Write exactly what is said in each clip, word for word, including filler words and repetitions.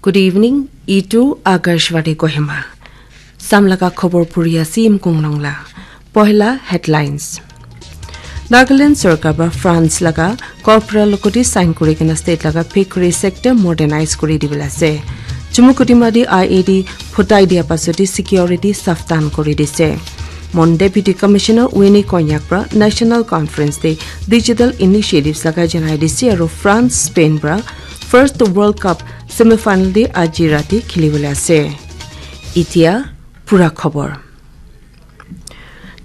Good evening, itu Akashvani Kohima. Samlaga khobor puri ase Imkung Nongla. Pohila headlines. Nagaland sorkar para France laga corporal logoti sign kuri kena state laga piggery sector modernize kuri dibole ase. Chumukutima di I E D phutai dia pasoti security saftan kuri dise. Mon Deputy Commissioner Winnie Konyak para National Conference te digital initiatives laga janai dise aru France Spain para first World Cup semifinal te aji rati khilibole ase. Itia pura khobor.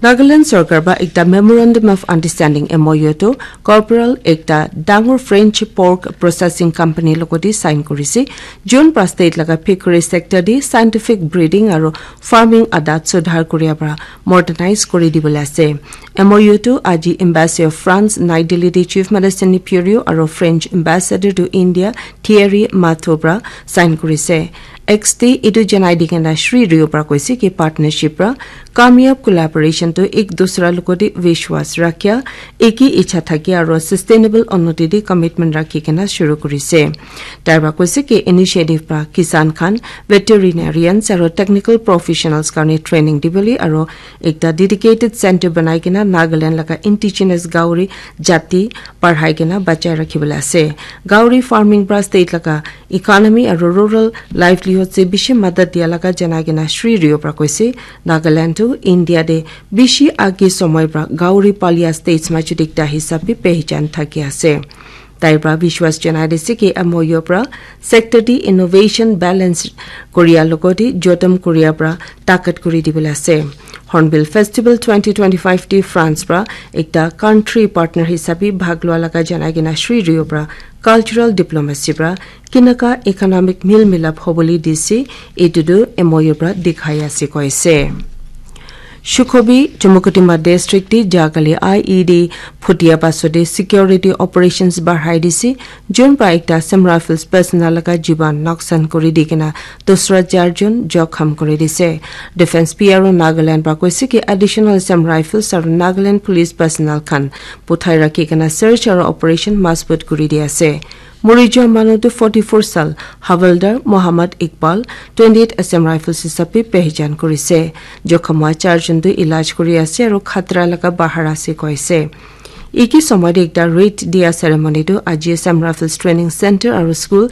Nagaland sorkar para ekta Memorandum of Understanding, M O U, to corporal ekta dangor French pork processing company logoti sign kurise. Jun para state laga piggery sector di scientific breeding aru farming adat sudhar kuria para modernize kuri dibole ase. M O U to aji Embassy of France, Nai Delhi di Chief Minister Neiphiu Rio aru French Ambassador to India, Thierry Mathieu para sign kurise. X te etu janai di kena Shri Rio para koise ki partnership para kamyab collaboration to ek dusra logoti vishwas rakhya, eki ichha thakya aru sustainable unnoti di commitment rakhi kena shuru kurise. Tai para koise ki initiative para kisan khan, veterinarians aru technical professionals karne training dibole aru ekta dedicated center banai kena Nagaland laga indigenous Gauri jati parhai kena bachai rakhibole ase. Gauri farming para state laga economy aru rural livelihood se bishi madad dia laga janai kena Shri Rio para koise, Nagaland tu India de bishi age somoi para Gauri palia states majot ekta hisab bi pehchan thaki ase. Tai para vishwas janai dise ki M O U para sector di innovation balance koria logoti jotom koria para takat kuri dibole ase. Hornbill Festival twenty twenty-five di France para ekta country partner hisabi bhag lua laga janai kena Shri Rio para cultural diplomacy para kinaka economic mil milap hobole dise, etu tu M O U para dikhai ase koise. Shukhobi, Chumukutima district di jagali I E D phutia pasode security operations barhai dise, jun para ekta Assam Rifles personnel laga jiban noksan kuri di kena dusra charjon jokham kuri dise. Defense P R O Nagaland para koise ki additional Assam Rifles aru Nagaland Police personnel khan puthai rakhi kena search aru operation masbut kuri di ase. Muri jua manu tu forty-four sal Havildar Muhammad Iqbal, twenty-eight Assam Rifles hisabe pehchan kurise. Jokham hua charjon tu ilaj kuri ase aru khatra laga bahar ase koise. Eki somoi te ekta raid dia ceremony tu aji Assam Rifles Training Center aru school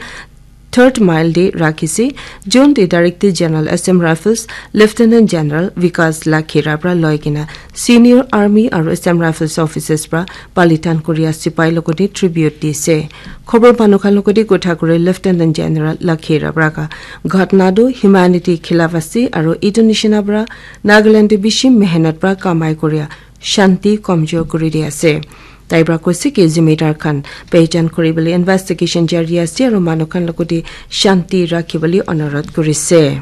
third mile te rakhise. Jun te Director General Assam Rifles Lieutenant General Vikas Lakhera para loi kena senior army aru Assam Rifles officers para palitan koria sipai logoti tribute dise. Khobor manu khan logoti kotha kuri Lieutenant General Lakhera para ka ghatna tu humanity khilaf ase aru etu nishina para Nagaland te bishi mehnat para kamai koria shanti komjor kuri di ase. Tai para koise ki zimedar khan pehchan kuri bole investigation jari ase aru manu khan logoti shanti rakhi bole onurodh kurise.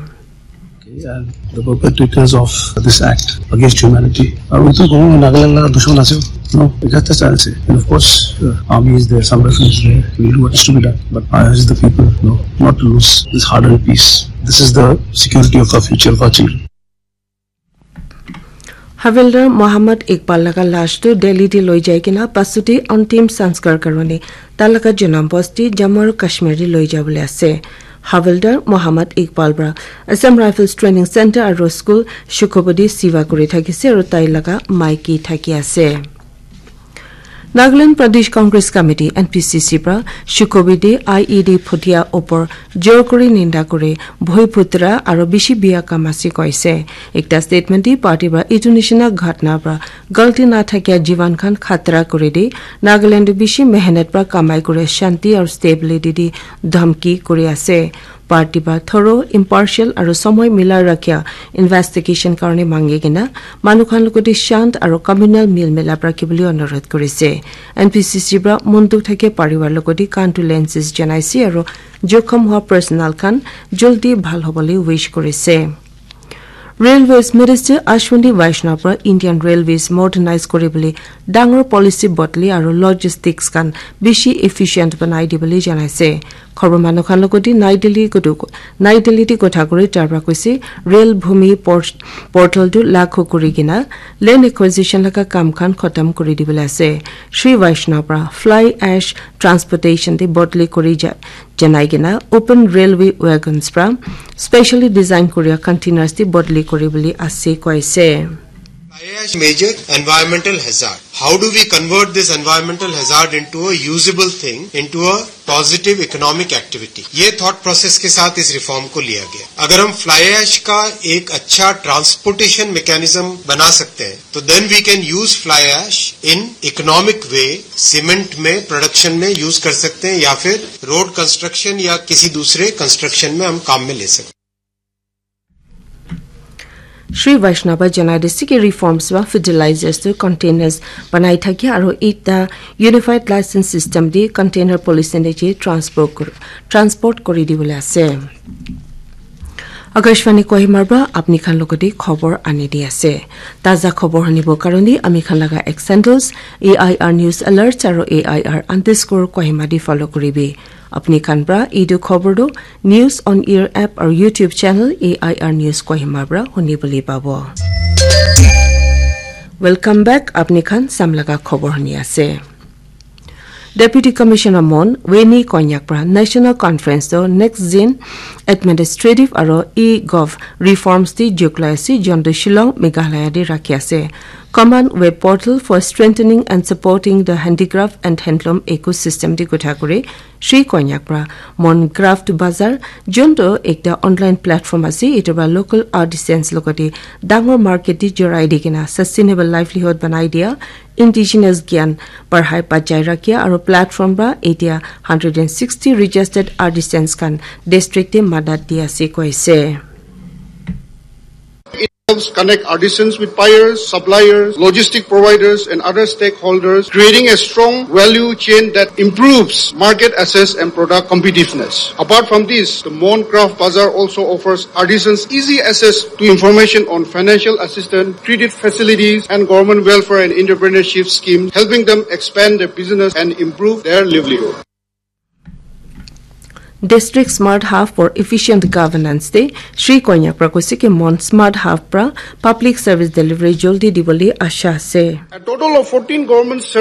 And the perpetrators of this act against humanity are also going in Nagaland la dushman ase. No, just as I'll say. And of course, uh, army is there, some refuge is there. We do what is to be done. But I urge the people, no, not to lose this hard-earned peace. This is the security of our future, of our children. Havildar Muhammad Iqbal laga lash tu Delhi te loi jai kena pasute antim sanskar karone ta laga janam bosti Jammu aru Kashmir te loi jabole ase. Havildar Muhammad Iqbal para Assam Rifles Training Center aru school Shukobadi siva kuri thakise aru tai laga maiki thaki ase. Nagaland Pradesh Congress Committee, N P C C, para Shukobidi I E D phutia opor jor kuri ninda kuri bhoi putra aro bishi biya kam ase koise. Ekta statement di party para itu nishina ghatna para galti na thakia jivan khan khatra kuri di Nagaland bishi mehnat para kamai kuri shanti aro stability di dhamki kuri ase. Party para thorough, impartial aru somoi mila rakha investigation karone mangi kena manu khan logoti shant aru communal mil milap rakhibole onurodh kurise. N P C C para mon dukh thake parivar logoti condolences janaise aru jokhom hua personnel khan jaldi bhal hobole wish kurise. Railways Minister Ashwini Vaishnaw para Indian Railways modernize kuribole dangor policy bodli aru logistics khan bishi efficient banai dibole janaise. Khobor manu khan logoti Nai Delhi godu Nai Delhi di kotha kuri tar pra koise, rail bhumi por- portal tu lakho kuri kena land acquisition laga kam khan khotam kuri dibole ase. Shri Vaishnaw pra fly ash transportation di bodli kuri ja- janai kena open railway wagons pra specially design kuria containers di bodli kuri bole ase koise. Fly ash major environmental hazard. How do we convert this environmental hazard into a usable thing, into a positive economic activity? ये थॉट प्रोसेस के साथ इस रिफॉर्म को लिया गया। अगर हम फ्लाई ऐश का एक अच्छा ट्रांसपोर्टेशन मैकेनिज्म बना सकते हैं, तो then we can use fly ash in economic way, सीमेंट में प्रोडक्शन में यूज कर सकते हैं, या फिर रोड कंस्ट्रक्शन या किसी दूसरे कंस्ट्रक्शन में हम काम में ले सकते हैं। Shri Vaishnava janai dise ki reforms ba fertilizers to containers banai thaki aro ekta unified license system di container policy ne je transport kor- transport kori di bole ase. Akashvani Kohima pra apni khan logoti khobor ani di ase. Taza khobor hunibo karone ami khan laga X handles A I R News Alerts aro A I R underscore Kohima di follow koribi. Apni khan pra etu khobor tu News on Air app aru YouTube channel A I R News Kohima pra huni bole pabo. Welcome back, apni khan samlaga khobor huni ase. Deputy Commissioner Mon Weni Konyak pra National Conference to Next Gen Administrative aro e-gov reforms di juklai ase, jonto Shillong, Meghalaya di rakhi ase. Common Web Portal for Strengthening and Supporting the Handicraft and Handloom Ecosystem di kotha kuri Shri Konyak pra Mon Craft Bazar, jonto ekta online platform ase, etu pra local artisans logoti dangor market di jorai di kena sustainable livelihood banai dia, indigenous gyan parhai bachai rakhia aru platform pra etia hundred and sixty registered artisans khan district te madat di ase koise. It helps connect artisans with buyers, suppliers, logistic providers, and other stakeholders, creating a strong value chain that improves market access and product competitiveness. Apart from this, the Mon Craft Bazaar also offers artisans easy access to information on financial assistance, credit facilities, and government welfare and entrepreneurship schemes, helping them expand their business and improve their livelihood. District Smart Hub for Efficient Governance te Shri Konyak pra koise ki Mon Smart Hub pra public service delivery joldi dibole asha ase. A total of fourteen government service